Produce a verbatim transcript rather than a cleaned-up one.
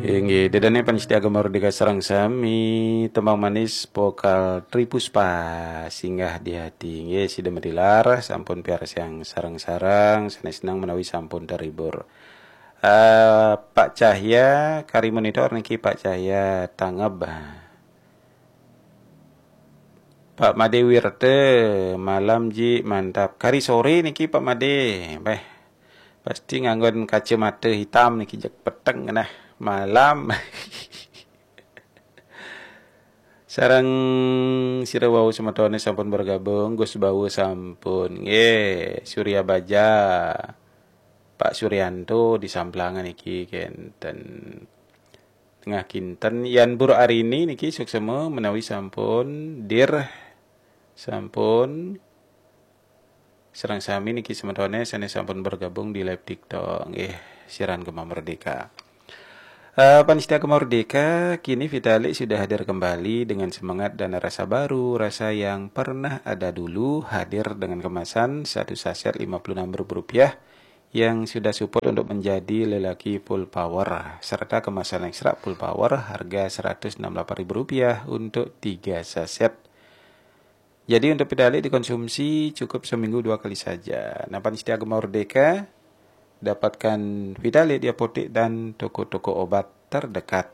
Inggih, ida dané pamiarsa Gema Merdeka sareng sami, tembang manis vokal Tri Puspa, Singgah di Hati. Inggih, sida madilar sampun piarsayang sareng-sareng, sanés seneng menawi sampun terhibur. Eh, Pak Cahya, kari monitor niki Pak Cahya Tangeb. Pak Made Wirte, malam ji, mantap. Kari soré niki Pak Made. Béh, pasti nganggon kacamata hitam niki, jek peteng nah. Malam. Sareng sira wau semetoné sampun bergabung, Gus Bawu sampun. Nggih, Surya Baja. Pak Suryanto di Samplangan niki kénten. Tengah kinten, Yan Bur Arini niki suksma menawi sampun, dir, sampun sareng sami niki semetoné sanés sampun bergabung di live TikTok. Nggih, siaran Gema Merdeka. Eh, pamiarsa Gema Merdeka, kini Vitalik sudah hadir kembali dengan semangat dan rasa baru, rasa yang pernah ada dulu, hadir dengan kemasan satu saset lima puluh enam ribu rupiah yang sudah support untuk menjadi lelaki full power, serta kemasan ekstra full power harga seratus enam puluh delapan ribu rupiah untuk tiga saset. Jadi untuk Vitalik dikonsumsi cukup seminggu dua kali saja. Nah, pamiarsa Gema Merdeka, dapatkan Vitalik di apotek dan toko-toko obat terdekat.